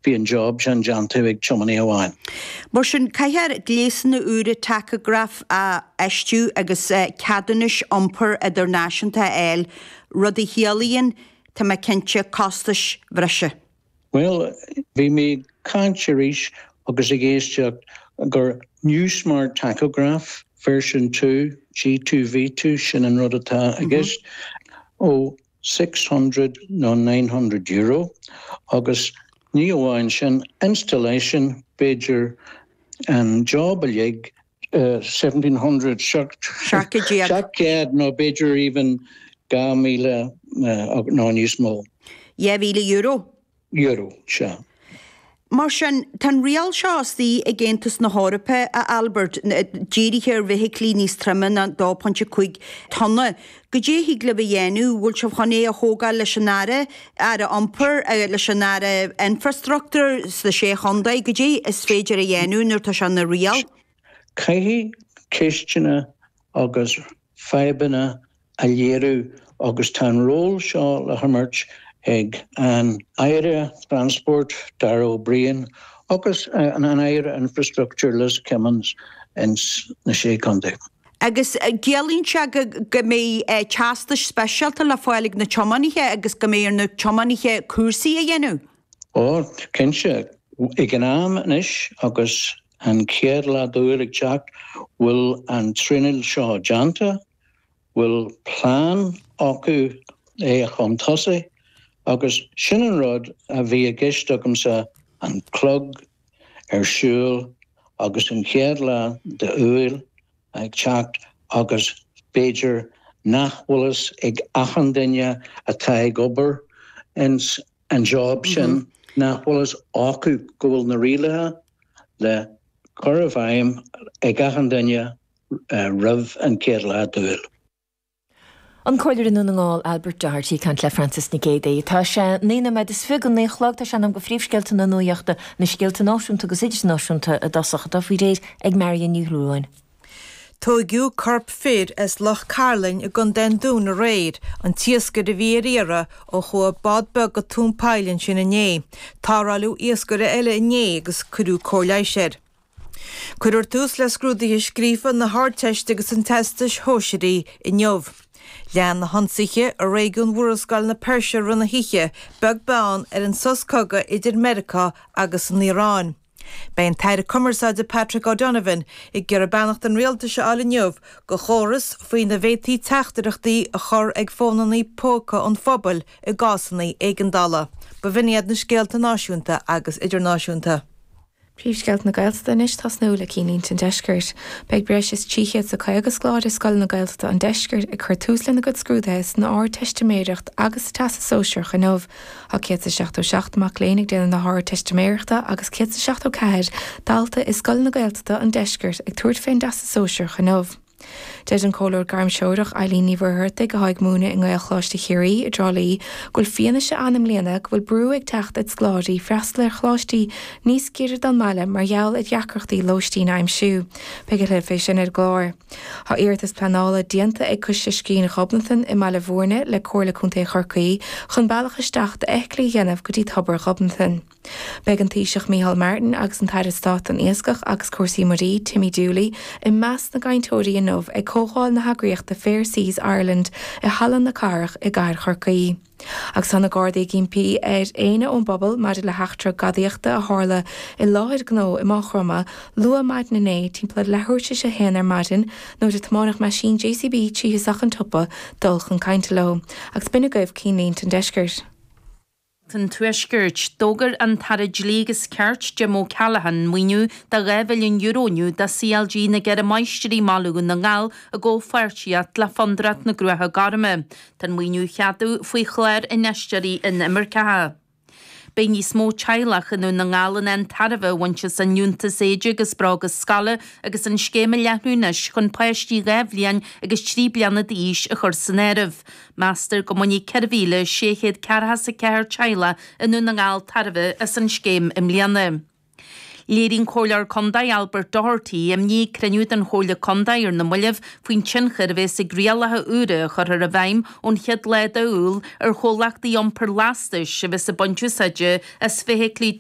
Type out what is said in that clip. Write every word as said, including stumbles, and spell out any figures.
bhí an job sin déanta ag tiománaí amháin. Mar sin caithfear gléasanna úra tacagraf a fheistiú agus ceadúnais iompair idirnáisiúnta a fháil, rud a chiallaíonn, tá mé cinnte, costais bhreise. Bhuel, bhí mé ag caint arís agus ag éisteacht gur new smart tachograph version two, G two V two, sin an rud atá i gceist, ó six hundred nó nine hundred euro agus ní amháin sin, installation, b'fhéidir an job uilig, seventeen hundred, seacht chéad nó b'fhéidir even dhá míle nó níos mó. Dhá mhíle euro? Euro, sea. Mar sin, tá an riail seo istigh ag Aontas na hEorpa, a Albert, dírithe ar bhfeithiclí níos troime ná dó pointe cúig tonna. Goidé a thig libh a dhéanamh? Bhfuil sibh chun é a thógáil leis an Aire, Aire Iompair, leis an Aire Infrastruchtúir sna Sé Chontae? Goidé is féidir a dhéanamh nuair atá sé ina riail? Caithfidh ceisteanna agus fadhbanna a léiriú agus tá an ról seo le himirt ag an Aire Transpóirt, Darragh O'Brien, agus an Aire Infrastructure, Liz Kimmins, ins na Sé Chontae. Agus ciallaíonn sé go mbeidh teastais speisialta le fáil ag na tiománaithe agus go mbeidh ar na tiománaithe cúrsaí a dhéanamh? Ó, cinnte. Ag an am anois agus an chéad lá d'Iúil ag teacht, bhfuil an traenáil seo déanta, bhfuil plean acu é chun tosaigh agus sin an rud a bhí i gceist agamsa, an clog ar siúl agus an chéad lá d'Iúil ag teacht agus b'fhéidir nach bhfuil fhios ag achan duine atá ag obair ins an job sin, nach bhfuil fhios acu go bhfuil na rialacha le cur i bhfeidhm ag achan duine roimh an chéad lá d'Iúil. An Comhairleoir i nDún na nGall, Albert Doherty, ag caint le Frances Nic Géadaigh. Tá sé naoi nóiméad is fiche go naoi a chlog. Tá sé in am do phríomhscéalta na nuachta, na scéalta náisiúnta agus idirnáisiúnta i dtosach, atá faoi réir ag Marion Ní Shúilleabháin. Tóigeadh corp fir as Loch Cairlinn i gContae an Dúin aréir, an t-iascaire a bhí ar iarraidh ó chuaigh bád beag go tóin poill ansin inné. Tarrtháladh iascaire eile inné agus cuireadh cóir leighis air. Cuirfear tús le scrúduithe scríofa na hArdteiste agus an Teastais Shóisearaigh inniu. Lean na hionsaithe i réigiún Mhurascaill na Peirse i rith na hoíche, beag beann ar an sos cogaidh idir Meiriceá agus an Iaráin. Beidh an tAire Cumarsáide Patrick O'Donovan ag iarraidh beannacht an rialtais a fháil inniu do chóras faoina bhféadfaí teachtaireachtaí a chur ag fónanna póca an phobail i gcásanna éigeandála. B'in iad na scéalta náisiúnta agus idirnáisiúnta. Príomhscéalta na Gaeltachta anois, tosnú le Cinnlínte an Deiscirt. Beidh breis is trí chéad is a caoga scoláire i scoileanna Gaeltachta an Deiscirt ag cur tús lena gcuid scrúduithe san Ardteistiméireacht agus sa Teastas Sóisearach inniu. Tá céad is seachtó seacht mac léinn ag déanamh na hArdteistiméireachta agus céad is seachtó ceathair dalta i scoileanna Gaeltachta an Deiscirt ag tabhairt fén dTeastas Sóisearach inniu. Deir an Comhairleoir Gairmthreorach Eileen Ní Mhuircheartaigh, atá ag múineadh i nGaelcholáiste Chiarraí i dTrá Lí, go bhfuil fianaise ann i mbliana go bhfuil brú ag teacht ar scoláirí freastal ar choláistí níos giorra don mbaile mar gheall ar dheacrachtaí lóistín a aimsiú. Beidh a thuilleadh fé sin ar an gclár. Tá iarratas pleanála déanta ag Coiste Scrín Ghobnatan i mBaile Bhúirne le Comhairle Contae Chorcaí chun bealach isteach d'fheithiclí a dhéanamh go dtí Tobar Ghobnatan. Beidh an Taoiseach Micheál Martin agus an tAire Stáit don Iascach agus Cúrsaí Muirí, Timmy Dooley, i measc na gcainteoirí inniu ag comhdháil na heagraíochta Fair Seas Ireland i Halla na Cathrach i gcathair Chorcaí. Agus tá na Gardaí ag impí ar éinne ón bpobal maidir le heachtra gadaíochta a tharla i láthair gnó i Maigh Chromtha luath maidin inné timpeall ar leathuair tar éis a haon ar maidin nuair a tiomáineadh meaisín JCB tríothu isteach an tsiopa dul chun cainte leo. Agus b'in agaibh Cinnlínte an Deiscirt. an Tuaiscirt. D'fhógair an tAire Dlí agus Cirt, Jim O'Callaghan, maoiniú de dhá mhilliún euro inniu do CLG na gCeithre Máistrí i mBaile Dhún na nGall i gcomhpháirtíocht le Fondúireacht na Cruaiche Goirme. Tá an maoiniú á cheadú faoi Chlár Infheisteoirí Inimirceacha. Beidh níos mó teaghlach i nDún na nGall in ann tairbhe a bhaint as an Liúntas Éide agus Bróga Scoile agus an scéim a leathnú anois chun páistí dhá bhliain agus trí bliana d'aois a chur san áireamh. Meastar go mbainfidh ceithre mhíle sé chéad ceathracha is a ceathair teaghlach i nDún na nGall tairbhe as an scéim i mbliana. Léirigh an Comhairleoir Contae Albert Doherty imní ag cruinniú den Chomhairle Contae ar na mallaibh faoin tionchar a bheas ag rialacha úra a chuirfear i bhfeidhm ón chéad lá d'Iúil ar chomhlachtaí iompair lastais a bheas ag baint úsáide as feithiclí